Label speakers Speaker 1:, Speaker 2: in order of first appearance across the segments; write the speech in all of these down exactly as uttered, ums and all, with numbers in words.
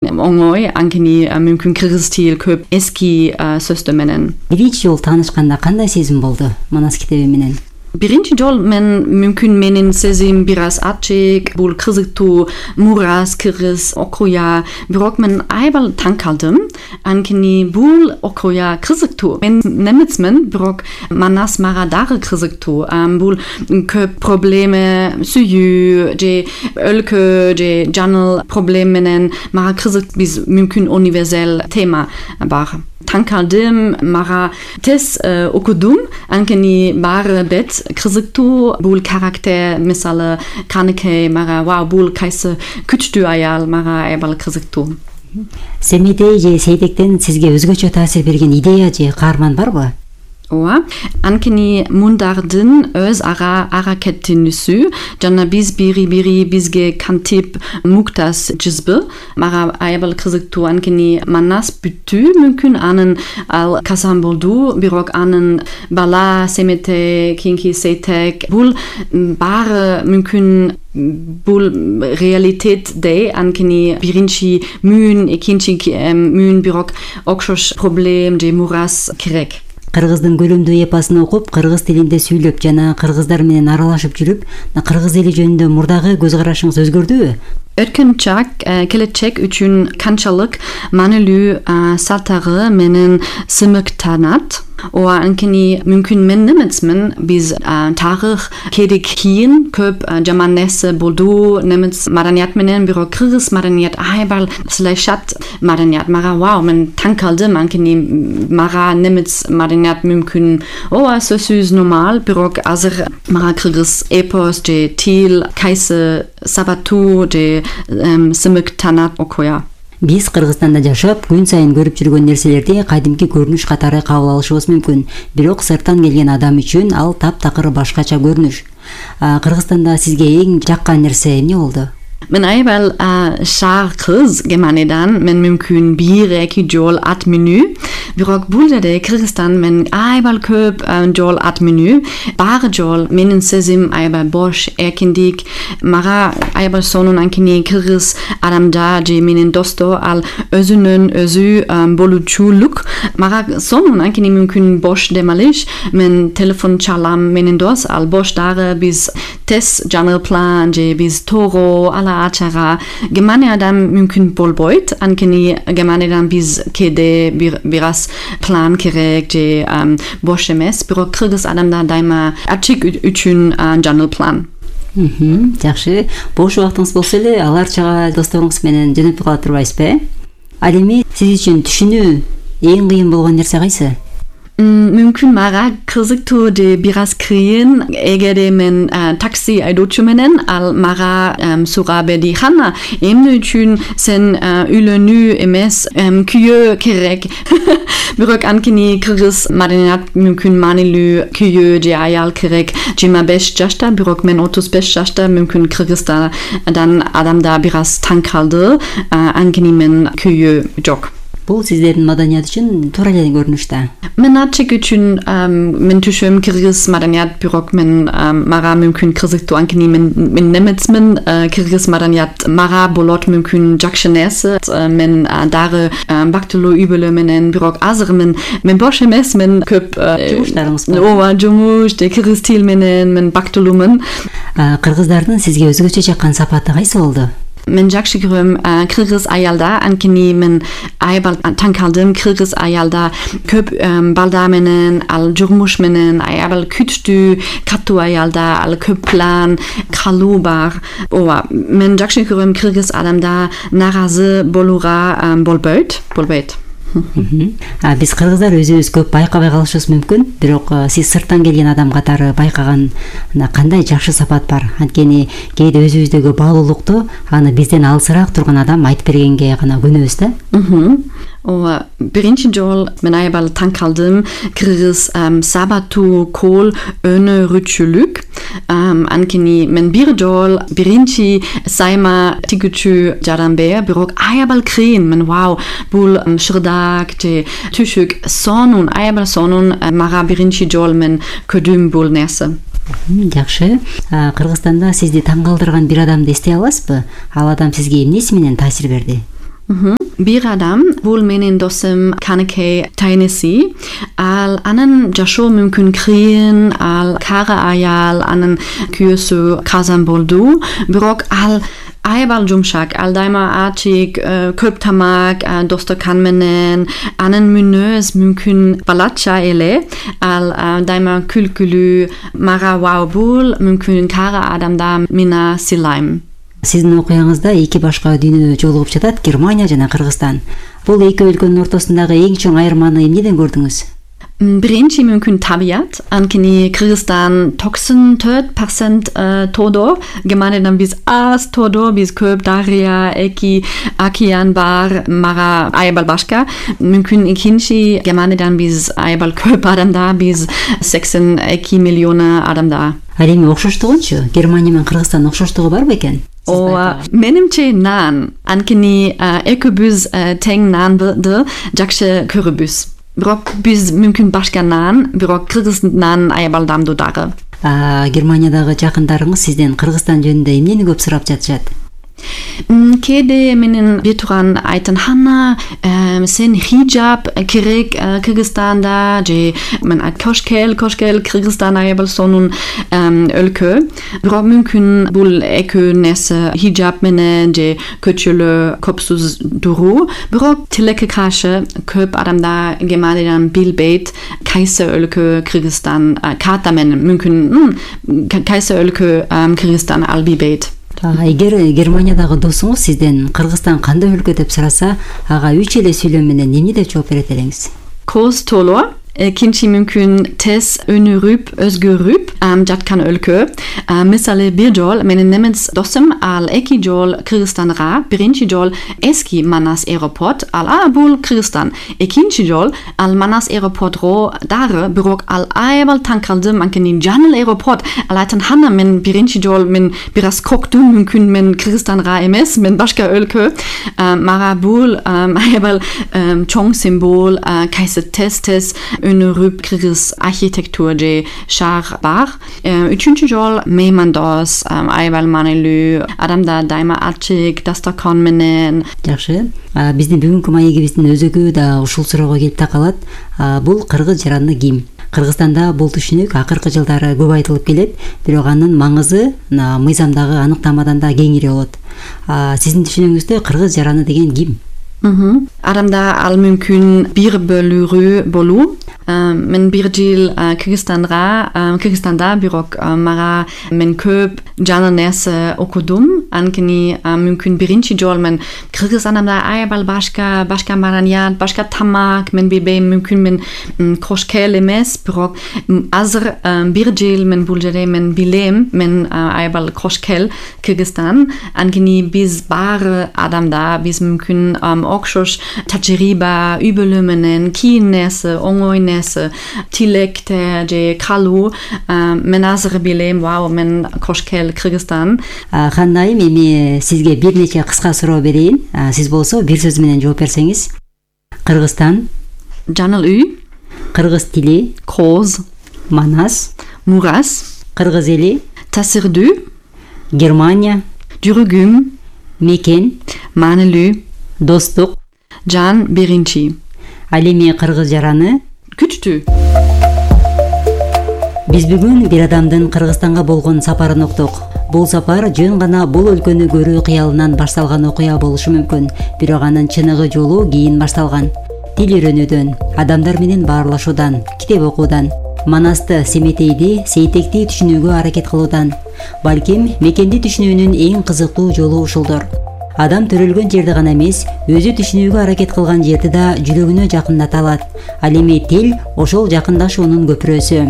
Speaker 1: оңой, анткени мүмкүн кыргыз тил көп эски сөздөр менен.
Speaker 2: Биринчи жолу таанышканда кандай сезим болду Манас китеби менен?
Speaker 1: Биринчи жол мен мүмкүн менин сезим бир аз ачык, бул кызыктуу, мурас кыргыз окуя, бирок мен аябай таң калдым, анткени бул окуя кызыктуу. Мен немецмен, бирок Манас мага дагы кызыктуу. Бул көп проблема, сүйүү же өлкө же жаңыл проблем менен мага кызык, биз мүмкүн универсал тема бар. Таң калдым, мага тез окудум, анткени баары бет кызыктуу, бул карактер, мисалы Каныкей, мага вау, бул кайсы күчтүү аял, мага аябай кызыктуу.
Speaker 2: Семейдей же Сейдектен сизге өзгөчө таасир берген идея же каарман барбы?
Speaker 1: Ооба, анткени мундардын өз ара аракеттенүүсү жана биз бири-бири бизге кантип муктаж жызбы, мага аябай кызыктуу, анткени Манас бүттү, мүмкүн анын ал казан болду, бирок анын бала Семете, кийинки Сейтек, бул баары мүмкүн бул реалитетде, анткени биринчи мүүн, экинчи мүүн, бирок окшош проблем же мурас керек.
Speaker 2: Кыргыздын көлөмдүү эпосын окуп, кыргыз тилинде сүйлөп жана кыргыздар менен аралашып жүрүп, кыргыз эли жөнүндө мурдагы көз карашыңыз өзгөрдүбү?
Speaker 1: Өткөн чак, келечек үчүн канчалык маанилүү салтары менен сымыктанат. Ооба, анткени мүмкүн мен немецмен, биз тарых керек кийин көп жаман нерсе болду немец маданият менен, бирок кыргыз маданият аябай слайшат маданият. Мага вау, мен таң калдым, анткени мага немец маданият мүмкүн ооба сөзсүз нормал, бирок азыр мага кыргыз эпос же тил кайсы сабатуу же сымыктанат окуя.
Speaker 2: Биз Кыргызстанда жашап, күн сайын көрүп жүргөн нерселерди кадимки көрүнүш катары кабыл алышыбыз мүмкүн. Бирок сырттан келген адам үчүн ал таптакыр башкача көрүнүш. Кыргызстанда сизге эң жаккан нерсе эмне болду?
Speaker 1: Мен аябай шаар кыз Германиядан, мен мүмкүн бир эки жол ат менүү, бирок бул жерде Кыргызстан мен аябай көп жол ат менүү, баары жол менин сезим аябай бош, эркиндик, мага аябай сонун, анткени кыргыз адамдар же менин достор ал өзүнүн өзү болуучулук мага сонун, анткени мүмкүн бош демалыш, мен телефон чалам, менин дос ал бош дагы, биз тез жаңы план же биз тоого ала ачага. Германиядан мүмкүн болбойт, анткени Германиядан биз кээде бир аз план керек же бош эмес, бирок кыргыз адамдар дайыма ачык үчүн жаңы план.
Speaker 2: Жакшы, бош убактыңыз болсо эле аларчага досторуңуз менен жөнөтүп кала турбайсызбы? Ал эми сиз үчүн түшүнүү эң кыйын болгон нерсе кайсы?
Speaker 1: Мүмкүн мага кызыктуу же бир аз кыйын, эгерде мен такси айдоочу менен ал мага сурап берди, хана эмне үчүн сен үйлөнүү эмес күйөө керек. Бирок анткени кыргыз маданият мүмкүн маанилүү күйөө же аял керек жыйырма беш жашта, бирок мен отуз беш жашта, мүмкүн Кыргызстандан адамдар бир аз таң калды, анткени мен күйөө жок.
Speaker 2: Бул сиздердин маданият үчүн туура эле көрүнүштө.
Speaker 1: Мен ачык үчүн мен түшүм кыргыз маданият, бирок мен мага мүмкүн кызыктуу, анткени мен мен немецмен, кыргыз маданият мага болот мүмкүн жакшы нерсе. Мен дагы бактылуу үй-бүлө менен, бирок азыр мен мен бош эмес, мен көп
Speaker 2: жумуштарыңыз бар.
Speaker 1: Ооба, жумуш же кыргыз тил менен мен бактылуумун.
Speaker 2: Кыргыздардын сизге өзгөчө жаккан сапаты кайсы болду?
Speaker 1: Мен жакшы көрөм кыргыз аялда, анткени мен аябай таң калдым, кыргыз аялда көп балдар менен, ал журмуш менен аябай күчтүү, катуу аялда ал көп план, калуу бар. Ооба, мен жакшы көрөм кыргыз адамда наразы болууга болбойт, болбойт.
Speaker 2: Биз кыргыздар өзүбүз көп байкабай калышыбыз мүмкүн, бирок сиз сырттан келген адам катары байкаган кандай жакшы сапат бар? Анткени кээде өзүбүздөгү баалуулукту аны бизден алысыраак турган адам айтып бергенге гана көнөбүз да.
Speaker 1: Ооба, биринчи жол мен аябай таң калдым, кыргыз сабатуу кол өнөрүүчүлүк, анткени мен бир жол биринчи сайма тигүүчү жаранбер, бирок аябай кыйын, мен вау, бул шырдак же түшүк сонун, аябай сонун, мага биринчи жол мен көрдүм бул нерсе.
Speaker 2: Жакшы. Кыргызстанда сизди таң калтырган бир адамды эстей аласызбы? Ал адам сизге эмнеси менен таасир берди?
Speaker 1: Бир адам, бул менин досум Канекей Тайнеси, ал анын жашоо мүмкүн кыйын, ал кара аял, анын күйөөсү казан болду, бирок ал аябал жумшак, ал дайыма ачык, көп тамак, достокан менен, анын мүнөз мүмкүн балача эле, ал дайыма күлкүлүү, мага вау бул мүмкүн кара адамда мина сыйлайм.
Speaker 2: Сиздин окуяңызда эки башка дүйнө жолугуп жатат, Германия жана Кыргызстан. Бул эки өлкөнүн ортосундагы эң чоң айырманы эмнеден көрдүңүз?
Speaker 1: Биринчи мүмкүн табият, анткени Кыргызстан токсон төрт процент тоодо, Германиядан биз аз тоодо, биз көп дарыя, эки океан бар, мага аябал башка. Мүмкүн экинчи Германиядан биз аябал көп адамда, биз сексен эки миллион адамда.
Speaker 2: Ал эми окшоштугунчу? Германия менен Кыргызстан окшоштугу барбы экен?
Speaker 1: О, менимче нан, анткени экөөбүз тең нанды жакшы көрүбүз. Бирок биз мүмкүн башка нан, бирок кыргыз нан аябал дамдуу дагы.
Speaker 2: Германиядагы жакындарыңыз сизден Кыргызстан жөнүндө эмнени көп сурап жатышат?
Speaker 1: Кээде менин бир турган айтын, Ханна, сен хиджаб керек Кыргызстанда, же мен кошкел, кошкел Кыргызстан аябал сонун өлкө. Бирок мүмкүн бул экөө нерсе хиджаб менен же көчөлө көпсүз туруу. Бирок тилекке каршы көп адамда Германиядан билбейт кайсы өлкө Кыргызстан, карта менен мүмкүн кайсы өлкө Кыргызстан ал билбейт.
Speaker 2: Эгер Германиядагы досуңуз сизден Кыргызстан кандай өлкө деп сураса, ага үч эле сүйлөм менен эмне деп жооп берет элеңиз?
Speaker 1: Коз толо, экинчи мүмкүн тез өнүрүп, өзгөрүп жаткан өлкө. Мисалы бир жол менин немец досум ал эки жол Кыргызстанга, биринчи жол эски Манас аэропорт, ал а бул Кыргызстан. Экинчи жол ал Манас аэропортго дагы, бирок ал аябал таң калдым, анткени жаңы аэропорт. Ал айтын, Ханна, мен биринчи жол мен бир аз коктум, мүмкүн мен Кыргызстанга эмес, мен башка өлкө. Мага бул аябал чоң символ, кайсы тез-тез өнүрүп кыргыз архитектура же шаар бар. Үчүнчү жол меймандос, аябал маанилүү, адамда дайыма ачык, дастаркан менен.
Speaker 2: Жакшы. Биздин бүгүнкү маегибиздин өзөгү да ушул суроого келип такалат. Бул кыргыз жараны ким? Кыргызстанда бул түшүнүк акыркы жылдары көп айтылып келет, бирок анын маңызы мыйзамдагы аныктамадан да кеңири болот. Сиздин түшүнүгүңүздө кыргыз жараны деген ким?
Speaker 1: Адамда ал мүмкүн бир бөлүгү болуу. Мен бир жыл Кыргызстанга, Кыргызстанда, бирок мага мен көп жаңы нерсе окудум, анткени мүмкүн биринчи жол мен Кыргызстанда аябал башка, башка маданият, башка тамак, мен билбейм, мүмкүн мен кошкел эмес, бирок азыр бир жыл мен бул жерде мен билем, мен аябал кошкел Кыргызстан, анткени биз баары адамда, биз мүмкүн окшош тажрыйба, үй-бүлө менен кийин нерсе, оңой нерсе, тилекте же калуу, мен азыр билем, вау, мен кошкел Кыргызстан.
Speaker 2: Ханна айым, эми сизге бир нече кыска суроо берейин. Сиз болсо бир сөз менен жооп берсеңиз. Кыргызстан,
Speaker 1: жаңыл үй,
Speaker 2: кыргыз тили,
Speaker 1: коз,
Speaker 2: Манас,
Speaker 1: Мурас,
Speaker 2: кыргыз эли,
Speaker 1: Тасырдуу,
Speaker 2: Германия,
Speaker 1: жүрүгүм,
Speaker 2: мекен,
Speaker 1: маанилүү,
Speaker 2: достук,
Speaker 1: жан биринчи.
Speaker 2: Ал эми кыргыз жараны
Speaker 1: күчтүү.
Speaker 2: Биз бүгүн бир адамдын Кыргызстанга болгон сапарын уктук. Бул сапар жөн гана бул өлкөнү көрүү кыялынан башталган окуя болушу мүмкүн, бирок анын чыныгы жолу кийин башталган. Тил үйрөнүүдөн, адамдар менен баарлашуудан, китеп окуудан, Манасты, Семетейди, Сейтекти түшүнүүгө аракет кылуудан. Балким мекенди түшүнүүнүн эң кызыктуу жолу ушулдур. Адам төрөлгөн жерди гана эмес, өзү түшүнүүгө аракет кылган жерди да жүрөгүнө жакындата алат. Ал эми тил ошол жакындашуунун көпүрөсү.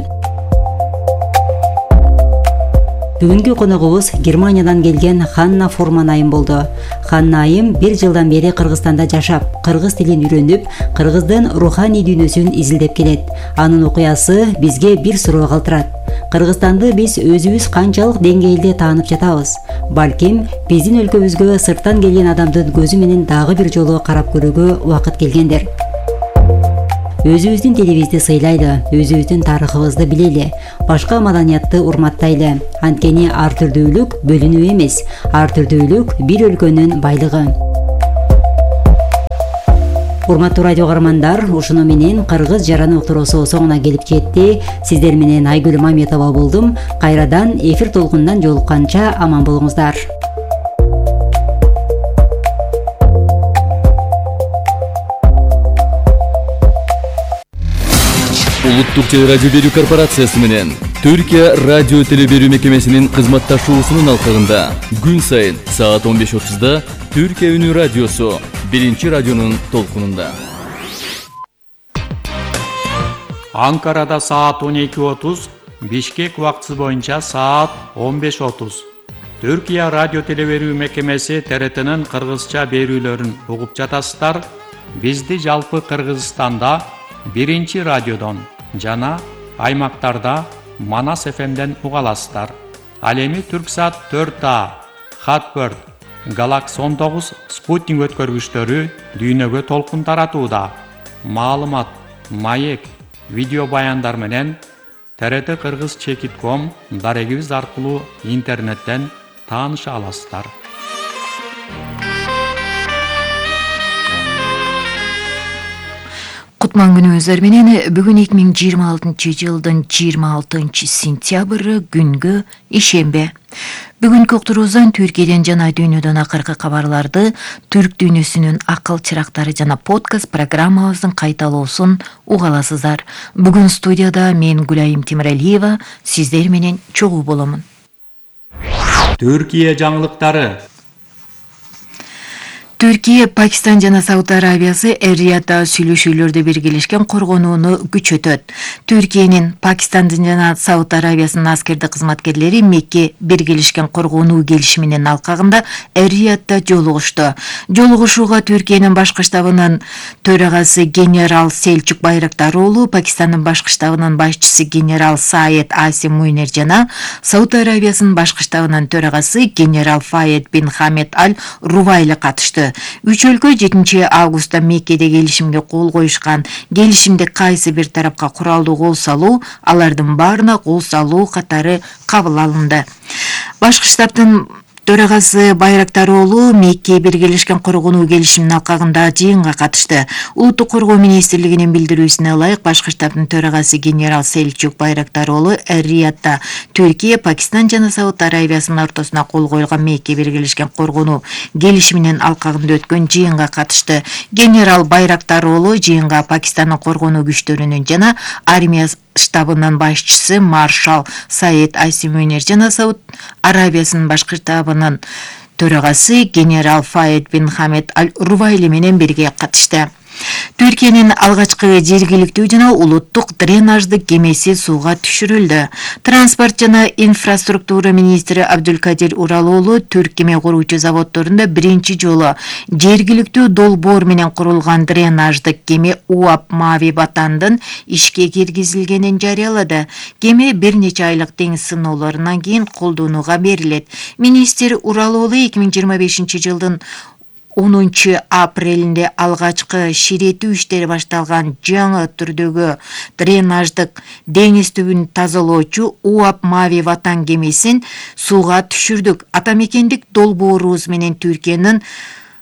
Speaker 2: Бүгүнкү коногубуз Германиядан келген Ханна Фурман айым болду. Ханна айым бир жылдан бери Кыргызстанда жашап, кыргыз тилин үйрөнүп, кыргыздын руханий дүйнөсүн изилдеп келет. Анын окуясы бизге бир суроо калтырат. Кыргызстанды биз өзүбүз канчалык деңгээлде таанып жатабыз? Балким биздин өлкөбүзгө сырттан келген адамдын көзү менен дагы бир жолу карап көрүүгө убакыт келгендир. Өзүбүздүн тилибизди сыйлайлы, өзүбүздүн тарыхыбызды билели, башка маданиятты урматтайлы. Анткени ар түрдүүлүк бөлүнүү эмес, ар түрдүүлүк бир өлкөнүн байлыгы. Урматтуу радио каармандар, ушуну менен Кыргыз жараны уктуруусу соңуна келип жетти. Сиздер менен Айгүл Мамедова болдум. Кайрадан эфир толкунунан жолукканча аман болуңуздар.
Speaker 3: Улуттук телерадио берүү корпорациясы менен Түркия радио теле берүү мекемесинин кызматташуусунун алкагында күн сайын саат он беш отузда Түркия үнү радиосу биринчи радионун толкунунда.
Speaker 4: Анкарада саат он эки отуз, Бишкек убактысы боюнча саат он беш отуз. Түркия радио теле берүү мекемеси Т Р Т'нин кыргызча берүүлөрүн угуп жатасыздар. Бизди жалпы Кыргызстанда биринчи радиодон жана аймактарда Манас эф эмден уга аласыздар. Ал эми Түрксат төрт А, Хатберт, Галакс он тогуз спутник өткөргүчтөрү дүйнөгө толкун таратууда. Маалымат, маек, видео баяндар менен Т Р Т Кыргыз чекит ком дарегибиз аркылуу интернеттен тааныша аласыздар.
Speaker 5: Кутман күнүңүздөр менен бүгүн эки миң жыйырма алтынчы жылдын жыйырма алтынчы сентябры күнгү ишембе. Бүгүнкү уктуруубуздан Түркияден жана дүйнөдөн акыркы кабарларды, түрк дүйнөсүнүн акыл чырактары жана подкаст программабыздын кайталоосун уга аласыздар. Бүгүн студияда мен Гүлайым Темиралиева сиздер менен чогуу боломун.
Speaker 4: Түркия жаңылыктары.
Speaker 5: Түркия, Пакистан жана Сауд Арабиясы Эр-Риядда сүйлөшүүлөрдө биргелешкен коргонууну күчөтөт. Түркиянын, Пакистандын жана Сауд Арабиясынын аскердик кызматкерлери Мекке биргелешкен коргонуу келишиминин алкагында Эр-Риядда жолугушту. Жолугушууга Түркиянын башкы штабынын төрагасы генерал Селчук Байрактароğlu, Пакистандын башкы штабынын башчысы генерал Саед Асим Муйнер жана Сауд Арабиясынын башкы штабынын төрагасы генерал Фаед бин Хамед Аль-Рувайли катышты. Үч өлкө жетинчи августта Меккеде келишимге кол коюшкан. Келишимде кайсы бир тарапка куралдуу кол салуу, алардын баарына кол салуу катары кабыл алынды. Башкы штабтын төрагасы Байрактароğlu Мекке биргелешкен коргонуу келишиминин алкагында жыйынга катышты. Улуттук коргоо министрлигинин билдирүүсүнө ылайык, башкы штабтын төрагасы генерал Селчук Байрактароğlu Эр-Риядда Түркия, Пакистан жана Сауд Арабиясынын ортосуна кол коюлган Мекке биргелешкен коргонуу келишиминин алкагында өткөн жыйынга катышты. Генерал Байрактароğlu жыйынга Пакистандын коргонуу күчтөрүнүн жана армия штабынын башчысы маршал Саед Асим Муйнер жана Сауд Арабиясынын башкы штабынын төрагасы генерал Фаед бин Хамед Аль-Рувайли менен бирге катышты. Түркиянын алгачкы жергиликтүү жана улуттук дренаждык кемеси сууга түшүрүлдү. Транспорт жана инфраструктура министри Абдулкадир Уралоğlu түрк кеме куруучу заводдорунда биринчи жолу жергиликтүү долбоор менен курулган дренаждык кеме УАП Мави Ватандын ишке киргизилгенин жарыялады. Кеме бир нече айлык теңиз сыноолорунан кийин колдонууга берилет. Министр Уралоğlu эки миң жыйырма бешинчи жылдын онунчу апрелинде алгачкы ширетүү иштери башталган жаңы түрдөгү дренаждык деңиз түбүн тазалоочу УАП Мави Ватан кемесин сууга түшүрдүк. Атамекендик долбоорубуз менен Түркиянын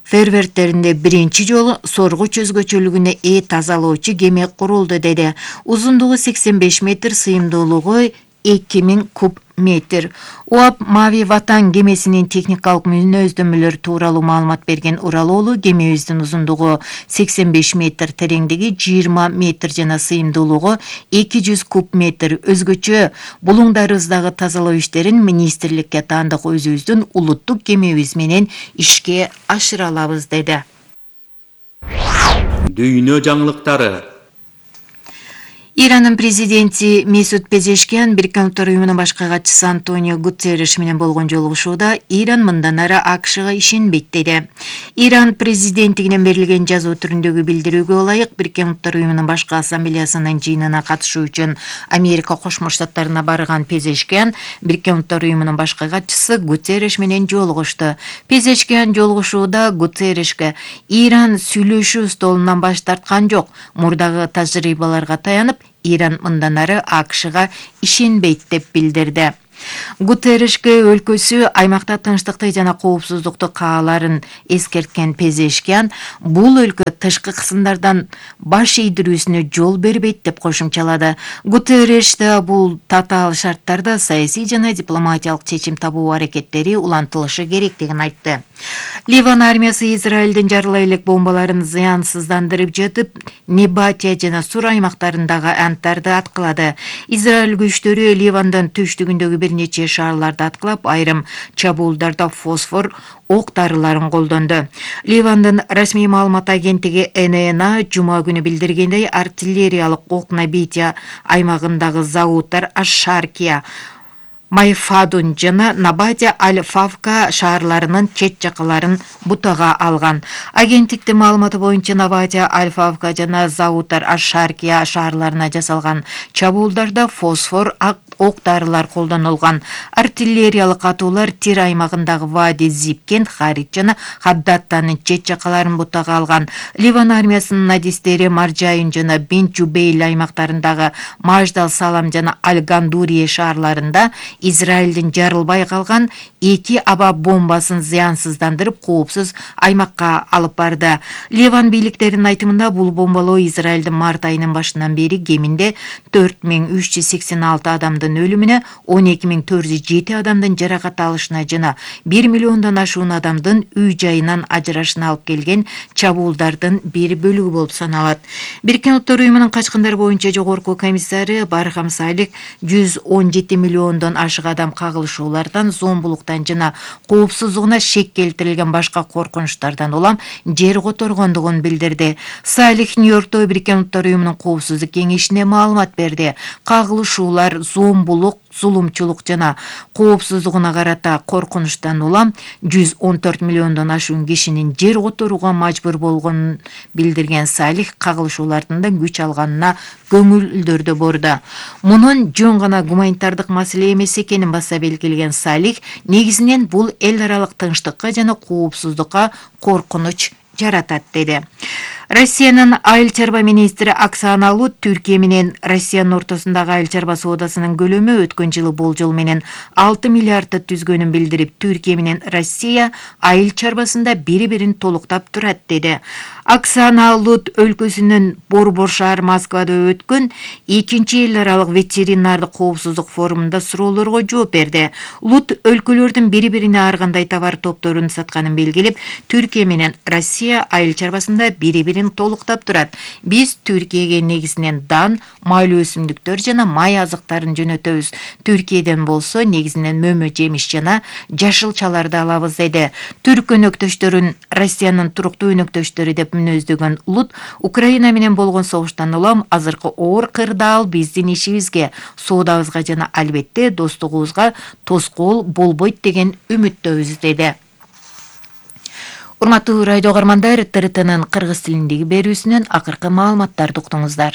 Speaker 5: фервертеринде биринчи жолу соргуч өзгөчөлүгүнө ээ тазалоочу кеме курулду деди. Узундугу сексен беш метр, сыйымдуулугу эки миң куб метр. УАП Мави Ватан кемесинин техникалык мүнөздөмөлөрү тууралуу маалымат берген Уралоğlu кемебиздин узундугу сексен беш метр, тереңдиги жыйырма метр жана сыйымдуулугу эки жүз куб метр. Өзгөчө булуңдарыбыздагы тазалоо иштерин министрликке таандык өзүбүздүн улуттук кемебиз менен ишке ашыра алабыз деди.
Speaker 4: Дүйнө жаңылыктары.
Speaker 5: Иранын президенти Месут Пезешкиан Бириккен Улуттар уюмунун башкы катчысы Антонио Гутерриш менен болгон жолугушууда Иран мындан ары АКШга ишенбейт деди. Иран президенттигинен берилген жазуу түрүндөгү билдирүүгө ылайык Бириккен Улуттар уюмунун башкы ассамблеясынын жыйынына катышуу үчүн Америка Кошмо Штаттарына барган Пезешкиан Бириккен Улуттар уюмунун башкы катчысы Гутерриш менен жолугушту. Пезешкиан жолугушууда Гутерришке Иран сүйлөшүү столунан баш тарткан жок, мурдагы тажрыйбаларга таянып Иран мындан ары АКШга ишенбейт деп билдирди. Гутерришке өлкөсү аймакта тынчтыкты жана коопсуздукту кааларын эскерткен Пезешкиан бул өлкө тышкы кысымдардан баш ийдирүүсүнө жол бербейт деп кошумчалады. Гутерриш да бул татаал шарттарда саясий жана дипломатиялык чечим табуу аракеттери улантылышы керектигин айтты. Ливан армиясы Израилдин жарылай элек бомбаларын зыянсыздандырып жатып, Небатия жана Сур аймактарындагы анттарды аткылады. Израиль күчтөрү Ливандын түштүгүндөгү бир нече шаарларды аткылап, айрым чабуулдарда фосфор ок дарыларын колдонду. Ливандын расмий маалымат агенттиги Эн Эн А жума күнү билдиргендей, артиллериялык ок Набатия аймагындагы заводдор Аш-Шаркия, Майфадун жана Набатия Аль-Фавка шаарларынын чет жакаларын бутага алган. Агенттиктин маалыматы боюнча Набатия Аль-Фавка жана заводдор Аш-Шаркия шаарларына жасалган чабуулдарда фосфор ок дарылар колдонулган. Артиллериялык атуулар Тир аймагындагы Вади Зипкен, Харит жана Хаддаттанын чет жакаларын бутага алган. Ливан армиясынын надистери Маржайын жана Бен Жубейл аймактарындагы Маждал Салам жана Аль-Гандурие шаарларында Израилдин жарылбай калган эки аба бомбасын зыянсыздандырып, коопсуз аймакка алып барды. Ливан бийликтеринин айтымында бул бомбалоо Израилдин март айынын башынан бери кеминде төрт миң үч жүз сексен алты адамдын өлүмүнө, он эки миң төрт жүз жети адамдын жаракат алышына жана бир миллиондон ашуун адамдын үй жайынан ажырашына алып келген чабуулдардын бир бөлүгү болуп саналат. Бириккен Улуттар уюмунун качкындар боюнча жогорку комиссары Бархам Салих жүз он жети миллиондон ашык адам кагылышуулардан, зомбулуктан жана коопсуздугуна шек келтирилген башка коркунучтардан улам жер которгондугун билдирди. Салих Нью-Йоркто Бириккен Улуттар уюмунун коопсуздук кеңешине маалымат берди. Кагылышуулар, зомбулук, зулумчулук жана коопсуздугуна карата коркунучтан улам жүз он төрт миллиондон ашуун кишинин жер которууга мажбур болгонун билдирген Салих кагылышуулардын да күч алганына көңүлдөрдү бурду. Мунун жөн гана гуманитардык маселе эмес экенин баса белгилеген Салих, негизинен бул эл аралык тынчтыкка жана коопсуздукка коркунуч жаратат деди. Россиянын айыл чарба министри Оксана Лут Түркия менен Россиянын ортосундагы айыл чарба соодасынын көлөмү өткөн жылы болжол менен алты миллиардты түзгөнүн билдирип, Түркия менен Россия айыл чарбасында бири-бирин толуктап турат деди. Оксана Лут өлкөсүнүн Борбор шаар Москвада өткөн экинчи эл аралык ветеринардык коопсуздук форумунда суроолорго жооп берди. Лут өлкөлөрдүн бири-бирине ар кандай товар топторун сатканын белгилеп, Түркия менен Россия айыл чарбасында бири-бирин толуктап турат. Биз Түркияге негизинен дан, майлуу өсүмдүктөр жана май азыктарын жөнөтөбүз. Түркияден болсо негизинен мөмө жемиш жана жашылчаларды алабыз деди. Түрк өнөктөштөрүн Россиянын туруктуу өнөктөштөрү деп мүнөздөгөн Лут, Украина менен болгон согуштан улам азыркы оор кырдаал биздин ишибизге, соодабызга жана албетте достугубузга тоскоол болбойт деген үмүттөбүз деди. Урматтуу радио каармандар, Т Р Т'нын кыргыз тилиндеги берүүсүнөн акыркы маалыматтарды уктуңуздар.